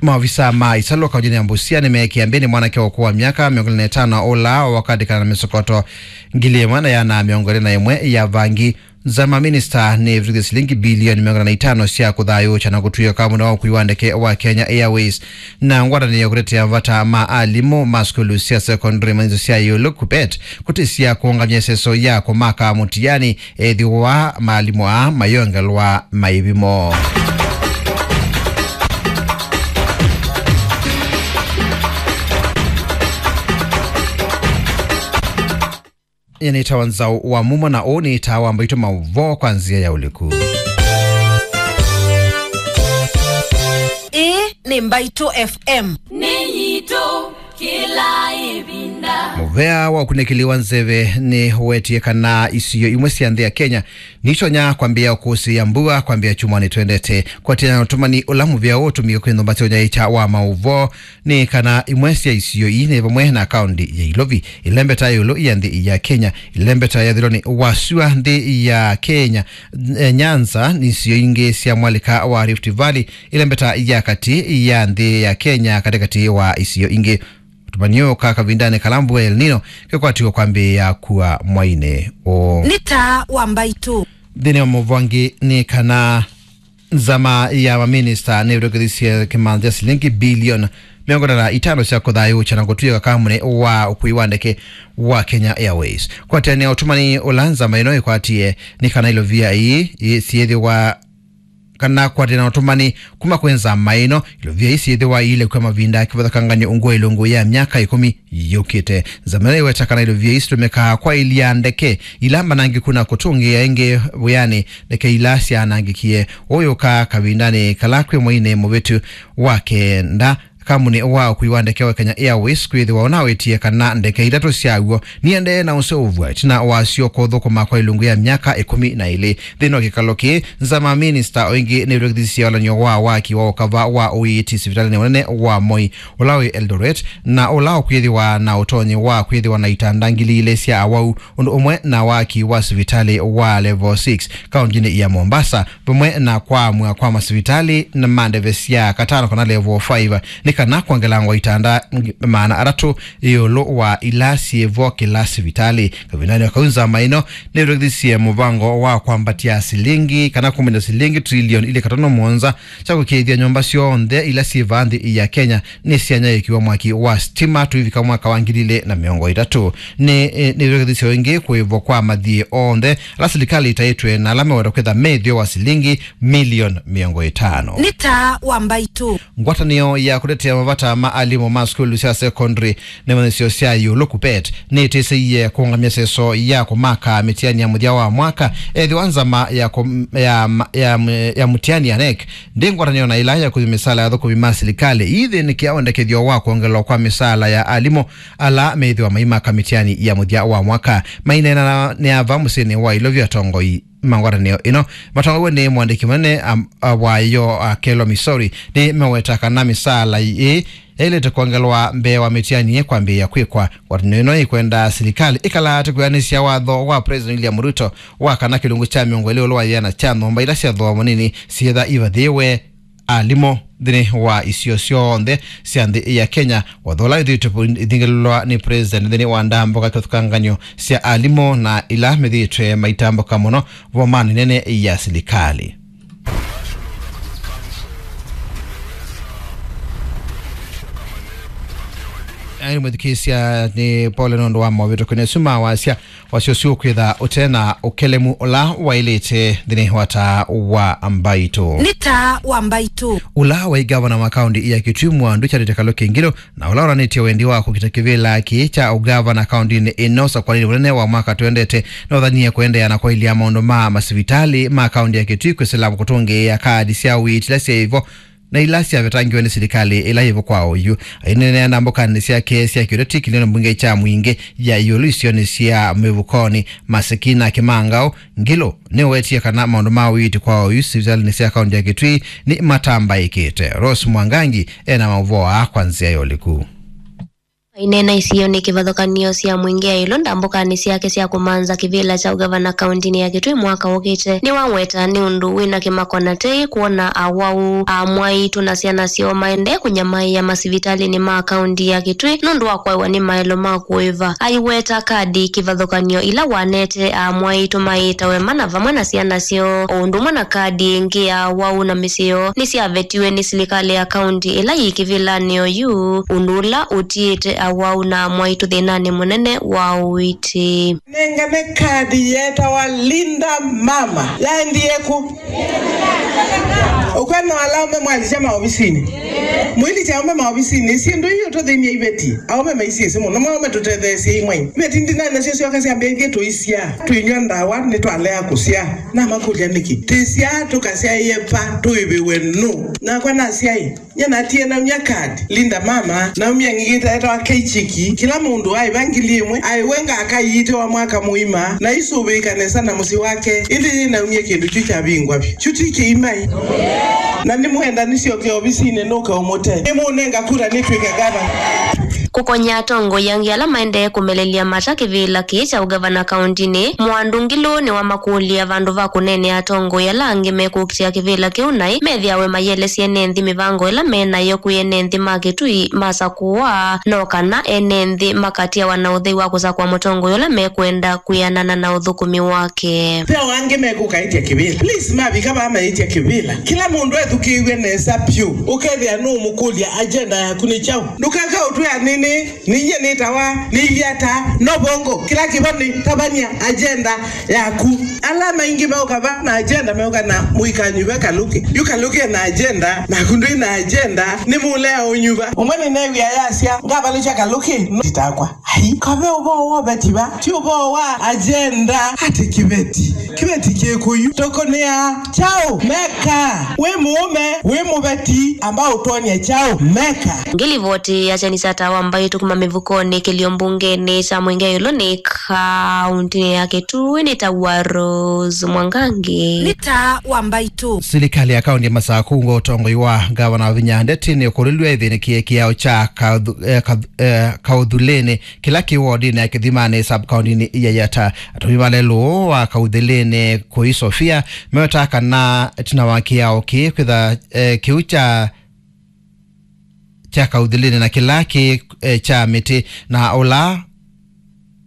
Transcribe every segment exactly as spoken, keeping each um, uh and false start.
Maovisa ma ĩsalũ kaũntĩnĩ ya Busia nĩmeekĩa mbĩnĩ mwanake wa ũkũũ wa myaka mĩongo ĩlĩ na ĩtano ũla wakandĩkana na mĩsokoto ngili ĩmwe na ĩana mĩongo ĩlĩ na ĩmwe ya vangi. Nzama minista nĩvĩtũkĩthisye silingi bilioni mĩongo ĩna na itano sya kũthayũũkya na kũtw'ĩka mũno wa ũkui wa ndeke wa Kenya Airways. Na ngwatanĩo ya kũtetea mavata ma alimũ ma sukulu sya secondary ma nzĩ sya ĩũlũ, KUPPET, kũtĩsya kũũngamya ĩseso ya kũmaka mũtiani ethĩwa maalimũ aa mayongelwa maĩvimo. Nyie nĩtawa Nzaũ wa Mumo, na ũũ nĩ ĩtaa wa Mbaitũ, maũvoo kwa nzĩa ya ũliku. Ĩĩ nĩ Mbaitũ F M. Nĩ yitũ kĩla ĩvinda. Mũvea wa ũkunĩkĩli wa nzeve nĩ ũwetie kana isio imwe sya nthĩ ya Kenya nitonya kwambĩĩa kũsĩĩa mbua kwambĩĩa kyumwanĩ twendete. Kwatĩana na ũtũmani ũla mũvea ũũ ũtũmĩe kwĩnyũmba kya ũnyaĩĩkya wa maũvoo, nĩ kana imwe sya isio ii nĩ vamwe na kaũntĩ ya Ilovi, ĩlembeta ya ĩũlũ ya nthĩ ya Kenya, ĩlembeta ya ĩthĩonĩ wa sua nthĩ ya Kenya, eh, Nyanza, na isio ingĩ sya mwalĩka wa Rift Valley, ĩlembeta ya katĩ ya nthĩ ya Kenya, katĩkatĩ wa isio ingĩ. Ũtũmani ũũ ũka kavindanĩ kala mbua ya El Nino kĩkwatiwe kwambĩĩa kua mwainĩ ũũ. Nĩ taa wa Mbaitũ. Nthĩnĩ wa maũvoo angĩ nĩ kana nzama ya maminista nĩvĩtũkĩthisye kĩmanthi kya silingi bilioni mĩongo ĩna na itano sya kũthayũũkya na kũtw'ĩka kambunĩ wa ũkui wa ndeke wa Kenya Airways. Kwatĩanĩa ũtũmani ũla nzama ĩno ĩkwatie, nĩ kana ilovia ii, ii syĩthĩwa kana kwatĩana ũtũmani kuma kwĩ nzama ĩno, ilovia ii syĩthĩwa iilekwa mavinda kĩvathũkangany'o ungu wa ilungu ya myaka ĩkũmi yũkĩte. Nzama ĩno ĩweta kana ilovia ii sitũmĩkaa kwaĩlya ndeke ila mbanangĩku na kũtũngĩĩa ĩngĩ wĩanĩ ndeke ila syaanangĩkie. Ũũ ũka kavindanĩ kala kwĩ mweinĩ mũvĩtu wa kenda, kambunĩ wa ũkui wa ndeke wa Kenya Airways kwĩthĩwa ũnawĩtie kana ndeke itatũ syaw'o niendee na ũseũvw'a ĩtina wasyo kũthũkũma kwa ilungu ya myaka ĩkũmi na ĩlĩ. Nthĩnĩ wa kĩkalo kĩĩ, nzama minista o ĩngĩ nĩvĩtũkĩthisye walany'o wa waki wa ũkava wa ũiiti sivitalĩnĩ mũnene wa Moi, ũla wĩ Eldoret, na ũla ũkwĩthĩwa na ũtonyi wa kwĩthĩwa na itanda ngili ilĩ sya awau, ũndũ ũmwe na waki wa sivitalĩ wa level six kaũntĩnĩ ya Mombasa, vamwe na kwaamw'a kwa masivitalĩ na ma ndeve sya katano kana level five, nĩ kana kwongelangwa itanda maana atatũ ĩũlũ wa ila syĩ vo kĩla sivitalĩ. Kavindanĩ o kau, nzama ĩno nĩvĩtũkĩthisye mũvango wa kwambatya silingi kana kumĩlya silingi trilioni ilĩ katono mũonza kya kũkĩĩthya nyũmba syonthe ila syĩ vaa nthĩ ya Kenya nĩsyanyaĩĩkiw'a mwaki wa sitima tũivika mwaka wa ngili ilĩ na mĩongo ĩtatũ. Nĩ, eh, nĩvĩtũkĩthisye ĩngĩ kũĩvwa kwa mathiĩ onthe ala silikalĩ ĩtaĩtwe na ala meweta kwĩtha methĩo wa silingi milioni mĩongo ĩtano. Nĩ taa wa Mbaitũ. Ngwatanĩo ya kũtetea mavata ma alimũ ma sukulu sya secondary na imanyĩsyo sya ĩũlũ, KUPPET, nĩtĩsĩie kũũngamya seso ya kũmaka mĩtiani ya mũthya wa mwaka, ethĩwa nzama ya kũ-, ya ma-, ya m-, ya mũtiani ya NEC ndĩ ngwatanĩo na ĩla ya kũthi mĩsaala ya athũkũmi ma silikalĩ ĩithĩnĩkĩa wendekethyo wa kwongelwa kwa mĩsaala ya alimũ ala methĩwa maimaka mĩtiani ya mũthya wa mwaka. Maineena nĩ ava mũsyĩnĩ wa Ilovi, atongoi ma ngwatanĩo ĩno matongoew'e nĩ mũandĩki mũnene, am-, a, wayo, a, Kello Misori, nĩmeweta kana mĩsaala ĩĩ yaĩlĩte kwongelwa mbee wa mĩtiani ĩĩ kwambĩĩa kwĩkwa. Ngwatanĩo ĩno ĩkwenda silikalĩ ĩkalaate kwĩanĩsya watho wa President William Ruto wa kana kĩlungu kya mĩongo ĩlĩ ĩũlũ wa ĩana kya nyũmba ila sya thooa mũnini syĩtha ivathĩĩwe alimũ nthĩnĩ wa isio syonthe sya nthĩ ya Kenya, watho ũla wĩthĩĩtwe ĩthingĩlĩlwa nĩ President nthĩnĩ wa ndambũka kĩvathũkangany'o sya alimũ na ila methĩĩtwe maitambũka mũno vomanĩ nene ya silikalĩ. Aĩ mwĩthukĩĩsya, nĩ pole nũndũ wa movĩtũkĩnĩ asu ma wasya. Wasya ũsu ũkwĩtha ũte na ũkelemu ũla waĩlĩte nthĩnĩ wa taa wa Mbaitũ. Nĩ taa wa Mbaitũ. Ũla waĩ ngavana wa kaũntĩ ya Kitui, Mwandu Charity Kaluki Ngilu, na ũla wonanĩtye wendi wa kũkita kĩvĩla kĩĩ kya ũngavana kaũntĩnĩ ĩno ũsakũanĩnĩ mũnene wa mwaka twendete, nĩwathanie kũendeea na kwaĩlya maũndũ ma masivitalĩ ma kaũntĩ ya Kitui kwĩsĩla kũtũngĩĩa kaadi sya ũiiti ila syaĩ vo na ila syavetangiwe nĩ silikalĩ ĩla yĩ vo kwa oyu. Aineenea ndambũkanĩ syake sya kĩũteti kĩlĩonĩ mbunge kya Mwingĩ ya ĩũlũ isionĩ sya Mĩvukonĩ, Maseki na Kĩmangao, Ngilu nĩwetie kana maũndũ ma ũiiti kwa oyu sivitalĩnĩ sya kaũntĩ ya Kitui nĩmatambaĩkĩte. Rose Mwangangi ena maũvoo aa kwa nzĩa ya ũliku. Aineena isionĩ kĩvathũkanio sya mũingĩ ya ĩlũ ndambũkanĩ syake sya kũmanza kĩvĩla kya ũgavana kaũntĩnĩ ya Kitui mwaka ũkĩte, nĩwaweta nĩ ũndũ wĩna kĩmako na tei kwona awau, amwaitũ na syana syoo maendee kũnyamaĩa masivitalĩnĩ ma kaũntĩ ya Kitui nũndũ wa kwaĩwa nĩ maelo ma kũĩva. Aiweta kadi kĩvathũkanio ila wanete amwaitũ maĩtawe mana vamwe na syana syoo, o ũndũ ũmwe na kadi ĩngĩ ya awau na mĩsyĩ yoo nĩsyavetiwe nĩ silikalĩ ya kaũntĩ ĩla yĩ kĩvĩlanĩ oyu, ũndũ ũla ũtiĩte awau na amwaitũ thĩnanĩ mũnene wa ũiiti. Nengane kadi yetawa Linda Mama. Yaendie kũ? Ũkwenda alaume mwalisya maovisinĩ? Mwĩlikya aume maovisinĩ, syĩndũ ii ũtũthĩnie iveti. Aume maisiĩsĩ mũno, maume tũtetheesye imwe. Iveti ndinai nasyo syoka syambĩĩthye tũisya, tũinywa ndawa, nĩtwalea kũsyaa. Namakũlya nĩkĩ? Tĩsyaa tũkasyaĩe va, tũĩvĩwe nũ? Nakwa nasyaĩ. Nye natie naumya kadi, Linda Mama, naumya ngigita etawa Keichiki, kĩla mũndũ aĩva ngili ĩmwe, aĩwe ngaka iitĩwa mwaka mũima, na isũvĩĩka nesa na mũsyĩ wake, ĩndĩ yĩ naumya kĩndũ kyu kyavingwa vyũ. Kyu ti kĩimai. Na nĩmwenda nĩsyoke ovisinĩ nũke ũmũte. Nĩmũnenga kura nĩtw'ĩke gavana. Kũkony'a atongoi angĩ ala maendee kũmelelya mata kĩvĩla kĩĩ kya ũgavana kaũntĩnĩ, Mwandu Ngilu nĩwamakũlya vandũ va kũneenea atongoi ala angĩ mekũkitĩa kĩvĩla kĩu naĩ methĩawe mayĩelesya ene nthĩ mĩvango ĩla me nayo kwĩ ene nthĩ ma Kitui masakũwa, no kana ene nthĩ makatiawa na ũthei wa kũsakũa mũtongoi ũla mekwenda kwĩanana na ũthũkũmi wake. Ve o angĩ mekũkaĩtya kĩvĩla. Please, mavika vaa maĩtya kĩvĩla. Kĩla mũndũ ethukĩĩw'e nesa vyũ, ũkethĩa nũũmũkũlya agenda yaku nĩ kyaũ. Ndũkaka ũtwĩa nĩnĩ. Ninyie nĩtawa nĩilyata no vongo kĩla kĩvo nĩ tavany'a agenda yaku. Ala maingĩ meũka va na agenda meũka na mũikanyuve Kalũkĩ. Yu Kalũkĩ ena agenda, naku ndwĩ na agenda, nĩ mũlea ũnyuva. Ũmwe nĩneew'ĩa yasya, ngavalũkya Kalũkĩ, no titakwa. Ai, kave ũvoo wa ũveti va, ti ũvoo wa agenda. Ati kĩveti, kĩveti kĩkũyu, tũkũnĩa kyaũ? Meka, wĩ mũũme, wĩ mũveti, amba ũtwony'e kyaũ? Meka. Ngilivoti ya kyeni kya Tawa Mbaitũ kuma mĩvukonĩ kĩlio mbungenĩ kya Mwingi Ĩũlũ nĩ kaũntĩnĩ ya Kitui nĩ Tawa Rose Mwangangi. Nĩ Tawa Mbaitũ. Silikalĩ ya kaũntĩ ya Masakũ ngwa ũtongoi wa ngavana Wavinya Ndeti nĩ ũkũlilw'e ĩthĩnĩkĩe kĩao kya kaũthu-, eh, kath-, eh, kaũthulĩnĩ kĩla kĩ wodinĩ ya Kĩthimanĩ sub-kaũntĩnĩ ya Yata. Atũmi ma lelũ wa kaũthulĩnĩ kũi Sofia mewetaa kana ĩtina wa kĩao kĩĩ kwĩtha, eh, kĩu kya kya kaũthulĩnĩ na kĩla kĩ, eh, kya mĩtĩ, na ũla,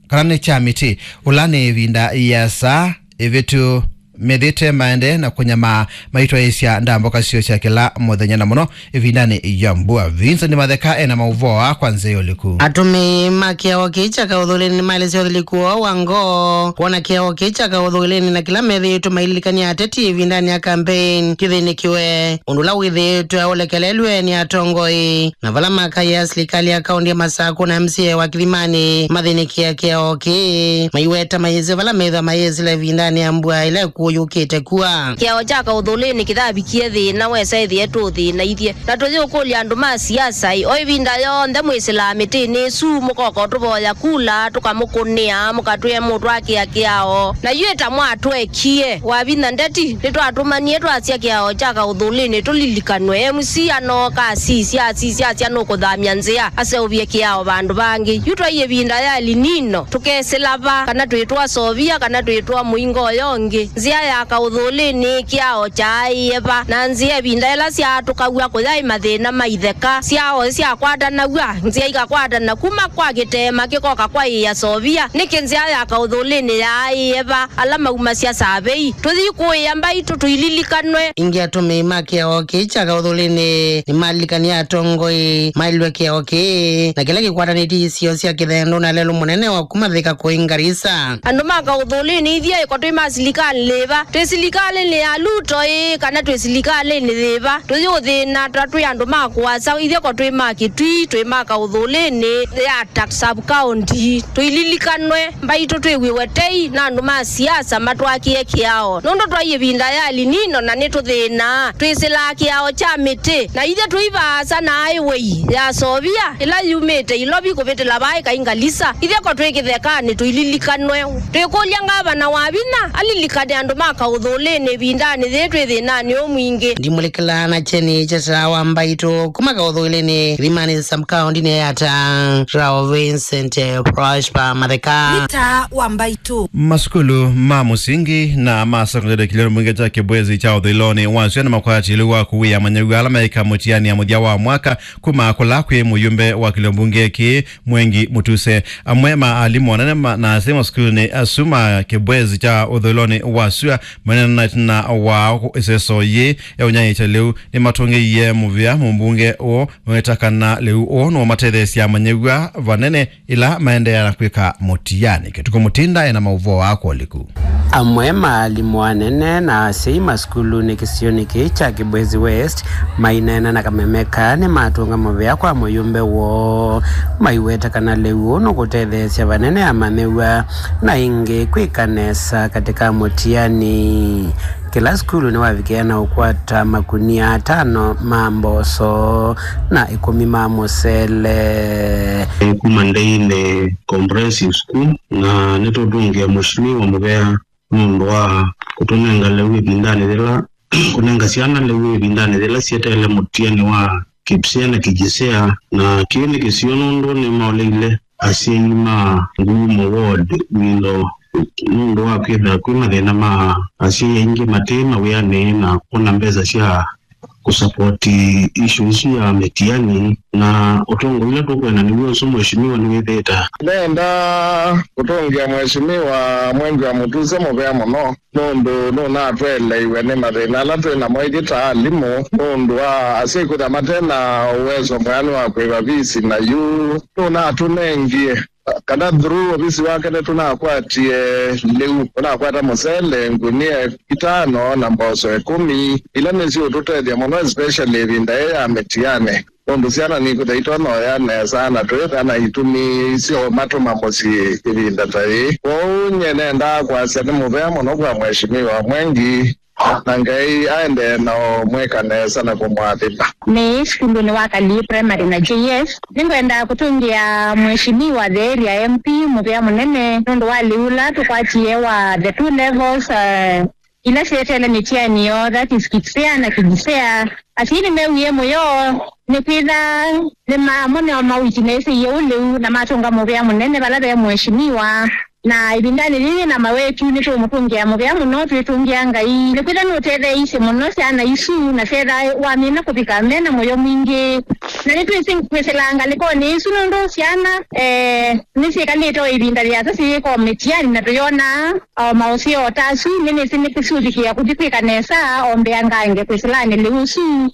kana nĩ kya mĩtĩ, ũla nĩ ĩvinda ĩasa ĩvĩtu methĩte maendee na kũnyamaa maitwaĩĩsya ndambũka syoo sya kĩla mũthenya, na mũno ĩvindanĩ ya mbua. Vincent Matheka ena maũvoo aa kwa nzĩa ya ũliku. Atũmĩi ma kĩao kĩĩ kya kaũthulĩnĩ nĩmaelesya ũthiliku woo wa ngoo kwona kĩao kĩĩ kya kaũthulĩnĩ na kĩla methĩĩtwe maililikany'a ateti ĩvindanĩ ya kambeini kĩthĩnĩkĩwe. Ũndũ ũla wĩthĩĩtwe ũlekelelw'e nĩ atongoi, na vala makaĩa silikalĩ ya kaũntĩ ya Masakũ na M C A wa Kĩthimanĩ mathĩnĩkĩa kĩao kĩĩ, maiweta mayĩsĩ vala methĩwa mayĩsĩla ĩvindanĩ ya mbua ĩla ĩkũũ yũkĩte kua. Kĩao kya kaũthũlĩnĩ kĩthavikie thĩna, wesa ĩthĩe tũũthĩnaithye, na tũyĩũkũlya andũ ma siasa-ĩ, o ĩvinda yonthe mwĩsĩlaa mĩtĩnĩ ĩsu, mũkoka ũtũvoya kula, tũkamũkũnĩa, mũkatwĩa mũtwakĩa kĩao, na yu ĩta mwatwee kie. Wavinya Ndeti, nĩtwatũmanie twasya kĩao kya kaũthũlĩnĩ tũlilikanwe. M C anooka asisya, asisya, asya nũkũthamya nzĩa, aseũvye kĩao vandũ vangĩ. Yu twai ĩvinda ya El Nino, tũkesĩla va, kana twĩtwa Sovia, kana twĩtwa mũinga ũyo ũngĩ. Nzĩa ya kaũthũlĩnĩ kĩao kyaaĩe va, na nzĩa ĩvinda ĩla syaatũkaw'a kũyaĩ mathĩna ma itheka, syao syakwatanaw'a, nzĩa ikakwatana kuma kwa kĩteema kĩkoka kwa ĩĩa Sovia. Nĩkĩ nzĩa ya kaũthũlĩnĩ yaaĩe va? Ala maumasya savei, tũthi kũĩa mbaitũ tũililikanwe. Ĩngĩ atũmĩi ma kĩao kĩĩ kya kaũthũlĩnĩ nĩmalilikanie atongoi maĩlwe kĩao kĩĩ na kĩla kĩkwatanĩtye isio sya kĩthendũ na lelũ mũnene wa kuma Thika kũi Ngarisa. Andũ ma kaũthũlĩnĩ ithyĩ ĩko twĩ ma silikalĩ yĩva? Twĩ silikalĩnĩ ya Ruto ĩĩ, kana twĩ silikalĩnĩ yĩva? Tũyĩũthĩna ta twĩ andũ ma kũasa, ithyĩ ko twĩ ma Kĩtui, twĩ ma kaũthũlĩnĩ ya ta sub-county. Tũililikanwe, mbaitũ twĩw'ĩwe tei na andũ ma siasa matwakĩe kĩao. Nũndũ twai ĩvinda ya El Nino na nĩtũthĩnaa. Twĩsĩlaa kĩao kya mĩtĩ. Na ithyĩ tũi vaasa na highway ya Sovia, ĩla yumĩte Ilovi kũvĩtĩla vaa ĩkai Ngalisa. Ithyĩ ko twĩ kĩthekanĩ tũililikanwe. Twĩkũlya ngavana Wavinya alilikane andũ Tũma kaũthũlĩnĩ ĩvindanĩ yĩĩ twĩ thĩnanĩ ũmwingĩ. Ndimũlĩkĩla na kyeni kya Taa wa Mbaitũ kuma kaũthũlĩnĩ kĩthimanĩ sub-kaũndĩnĩ ya Taa, Rao Vincent, eh, Prosper Matheka. Nĩ Taa wa Mbaitũ. Masukulu ma mũsingi na ma sekondalĩ kĩlĩonĩ mbunge kya Kĩbwezi kya ũthũĩlonĩ wa sua nĩmakwatĩlwe wa kũwĩa amanyĩw'a ala meĩka mũtiani ya mũthya wa mwaka kuma kũla kwĩ mũyumbe wa kĩlĩo mbunge kĩĩ Mwengi Mutuse. Amwe ma alimũ anene ma, na asyai masukulunĩ asu ma Kĩbwezi kya ũthũĩlonĩ wa sua manena na ĩtina wa ĩseso yĩĩ ya ũnyaĩĩkya lĩu nĩmatũngĩie mũvea mũmbunge ũũ, maweta kana lĩu ũũ nũũmatetheesya amanyĩw'a vanene ĩla maendeea na kwĩka mũtiani. Kĩtukũ Mũtinda ena maũvoo aa kwa ũliku. Amwe ma alimũ anene na asyai masukulunĩ kĩsionĩ kĩĩ kya Kĩbwezi West maineena na kameme kaa nĩmatũnga mũvea kwa mũyumbe woo, maiweta kana lĩu ũũ nũkũtetheesya vanene amanyĩw'a na ĩngĩ kwĩka nesa katĩ ka mũtiani. Kĩla sukulu nĩwavikĩa na ũkwata makunia atano ma mboso na ĩkũmi ma mũsele. Kuma Ndeinĩ Comprehensive School, na nĩtũtũngĩa Mheshimiwa mũvea nũndũ wa kũtũnenga lĩu ĩvindanĩ yĩla, kũnenga syana lĩu ĩvindanĩ yĩla syeteele mũtiani wa KPSEA na KJSEA, na kĩu nĩ kĩsio nũndũ nĩmaũlĩile asyai ma Ngumo Ward wĩlo nũndũ wa kwĩthĩwa kwĩ mathĩna ma asyai aingĩ matĩ mawĩanĩ na kũna mbesa sya kũsapoti issue isu ya mĩtiani, na ũtongoi ũla tũkwenda nĩw'o ũsu, Mheshimiwa, nĩwĩthĩĩte. Nenda kũtũngĩa Mheshimiwa Mwengi wa Mutuse mũvea mũno, nũndũ nũnatũeleiwe nĩ mathĩna ala twĩ namo ithyĩ ta alimũ, nũndũ wa asyai kwĩthĩa mate na ũwezo mwĩanu wa kũĩva visi, na yu nũnatũnengie kana through ovisi wake nĩtũnakwatie lĩu, tũnakwata mũsele ngunia itano na mboso ĩkũmi, ila nĩsiũtũtethya mũno, especially ĩvinda yĩĩ ya mĩtiani, nũndũ syana nikwĩthĩa itonya ũya nesa na twĩthĩa na itumi syomatũma mũsyĩ ĩvinda ta yĩĩ. Kwoou nyie nendaa kwasya nĩ mũvea mũno kwa Mheshimiwa Mwengi, na Ngai aendee na ũmwĩka nesa na kũmũathima. Nĩ sukulunĩ wa Kalii Primary na J S. Nĩngwenda kũtũngĩa Mheshimiwa the area M P mũvea mũnene nũndũ wa lĩu ũla tũkwatie wa the two levels, uh, ila syeteele mĩtiani yoo, that is KPSEA na KJSEA. Asyai nĩmewie mũyo nĩkwĩtha nĩma-, amwe nĩo mawĩtinĩsĩie ũu lĩu na matũnga mũvea mũnene vala ve Mheshimiwa. Na ĩvindanĩ yĩĩ na mawetu nĩtũũmũtũngĩa mũvea mũno, twĩtũngĩa Ngai. Nĩkwĩtha nũtetheeisye mũno syana isu, na syetha wamina kũvika me na mũyo mwingĩ. Na nĩtwĩsĩ kwĩsĩla ngalĩkonĩ isu nũndũ syana, eh, nĩsyĩkalĩte o ĩvinda yĩasa syĩyĩka o mĩtiani, na tũyonaa o maũseo o ta asu. Nĩnĩsĩ nĩkũsyũvikĩa kũthi kwĩka nesa o mbea ngange kwĩsĩlanĩ lĩu ũsu.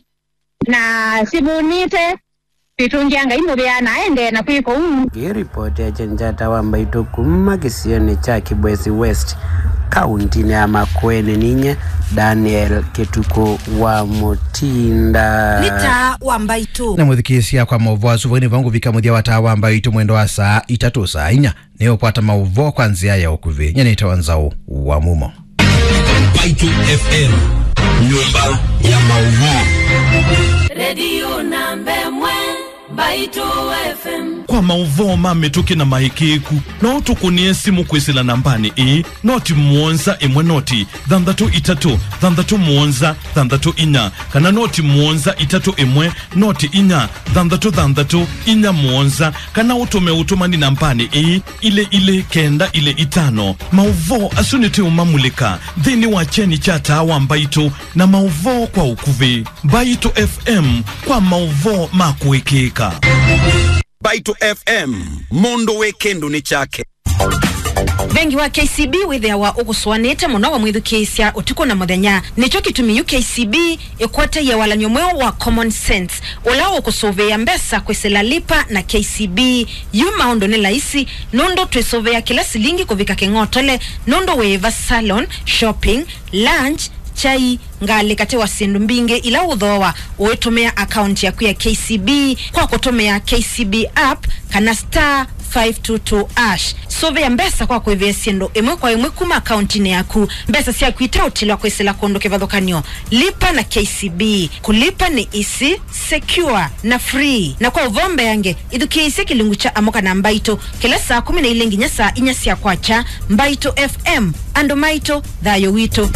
Na sivũnĩte, twĩtũngĩa Ngai mũvea na aendee na kwĩka ũu. Ĩĩ ripoti ya Kyeni kya Taa wa Mbaitũ kuma kĩsionĩ kya Kĩbwezi West, kauntinĩ ya Makueni, ninyie Daniel Kĩtukũ wa Mũtinda. Nĩ Taa wa Mbaitũ. Na mũthikĩĩsya, kwa maũvoo asu, vau nĩvo ngũvika mũthya wa Taa wa Mbaitũ mwendo wa saa itatũ, saa inya. Nĩũkwata maũvoo kwa nzĩa ya ũkuvĩ. Nyie nĩtawa Nzaũ wa Mumo. Mbaitũ F M, nyũmba ya maũvoo. Redio namba ĩmwe, Mbaitũ F M. Kwa maũvoo ma mĩtũkĩ na maĩkĩĩku, no ũtũkũnĩe simũ kwĩsĩla nambanĩ ĩĩ, noti mũonza ĩmwe noti thanthatũ itatũ thanthatũ mũonza thanthatũ inya, kana noti mũonza itatũ ĩmwe noti inya thanthatũ thanthatũ inya mũonza, kana ũtũme ũtũmani nambanĩ ĩĩ, ilĩ ilĩ kenda ilĩ itano. Maũvoo asu nĩtũũmamulĩka nthĩnĩ wa kyeni kya Taa wa Mbaitũ na maũvoo kwa ũkuvĩ. Mbaitũ F M, kwa maũvoo ma kũĩkĩĩka. Mbaitũ F M, mũndũ wĩ kĩndũnĩ kyake. Vengi wa K C B wĩthĩawa ũkũsũanĩte mũno wamwĩthukĩĩsya ũtukũ na mũthenya. Nĩkyo kĩtumi yu K C B ĩkwatie walany'o mweũ wa Common Sense, ũla ũkũsũvĩĩa mbesa kwĩsĩla Lipa na K C B. Yu maũndũ nĩ laisi, nũndũ twĩsũvĩa kĩla silingi kũvika kĩng'otole, nũndũ wĩĩva, salon, shopping, lunch, kyai, ngalĩ, katĩ wa syĩndũ mbingĩ ila ũthooa ũitũmĩa akaunti yaku ya K C B kwa kũtũmĩa K C B app kana star five two two hash. Sũvĩa mbesa kwa kwĩvĩa syĩndũ ĩmwe kwa ĩmwe kuma akauntinĩ yaku. Mbesa syaku iteũtilwa kwĩsĩla kũndũ kĩvathũkany'o. Lipa na K C B. Kũlipa nĩ easy, secure, na free. Na kwa ũvoo mbeange, ĩthukĩĩsye kĩlungu kya Amũka na Mbaitũ kĩla saa kũmi na ilĩ nginya saa inya sya kwakya. Mbaitũ F M, andũ maitũ, thayũ witũ.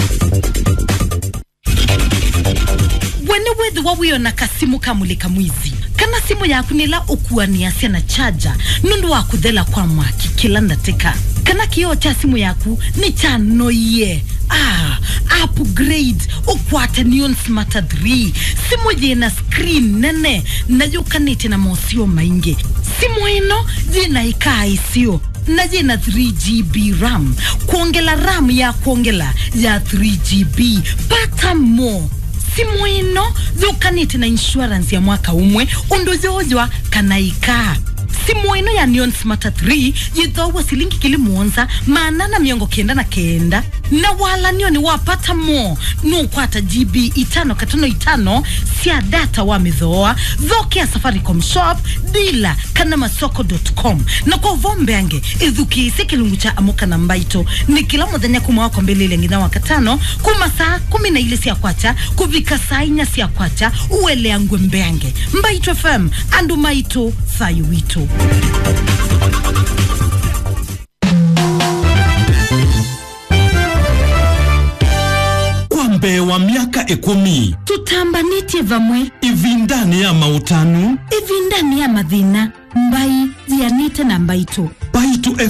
We nĩwĩthĩwa wĩona kasimũ ka mũlĩka mwizi, kana simũ yaku nĩla ũkuanĩasya na charger nũndũ wa kũthela kwa mwaki kĩla ndatĩka, kana kĩoo kya simũ yaku nĩkyanoie? Ah, upgrade, ũkwate Neon Smarter three, simũ yĩna screen nene na yũkanĩte na moseo maingĩ. Simũ ĩno yĩna ĩkaa ĩseo na yĩna three G B RAM. Kwongela RAM ya kwongela ya three G B. Pata more. Simũ ĩno yũkanĩte na insurance ya mwaka ũmwe ũndũ yooywa kana ĩkaa. Simũ ĩno ya Neon Smarter three yĩthoaw'a silingi ngili mũonza maana na mĩongo kenda na kenda. Na walanio nĩ wa Pata More, nũkwata G B itano katono itano sya data wa mĩthooa. Thokea Safaricom Shop, dealer, kana masoko dot com. Na kwa ũvoo mbeange, ĩthukĩĩsye kĩlungu kya Amũka na Mbaitũ. Nĩ kĩla mũthenya kuma wa kwambĩlĩlya nginya wa katano, kuma saa kũmi na ilĩ sya kwakya kũvika saa inya sya kwakya, ũeleangw'e mbeange. Mbaitũ F M, andũ maitũ, thayũ witũ. Kwa mbee wa myaka ĩkũmi, tũtambanĩtye vamwe. Ĩvindanĩ ya maũtanu, ĩvindanĩ ya mathĩna, mbai yĩanĩte na mbaitũ.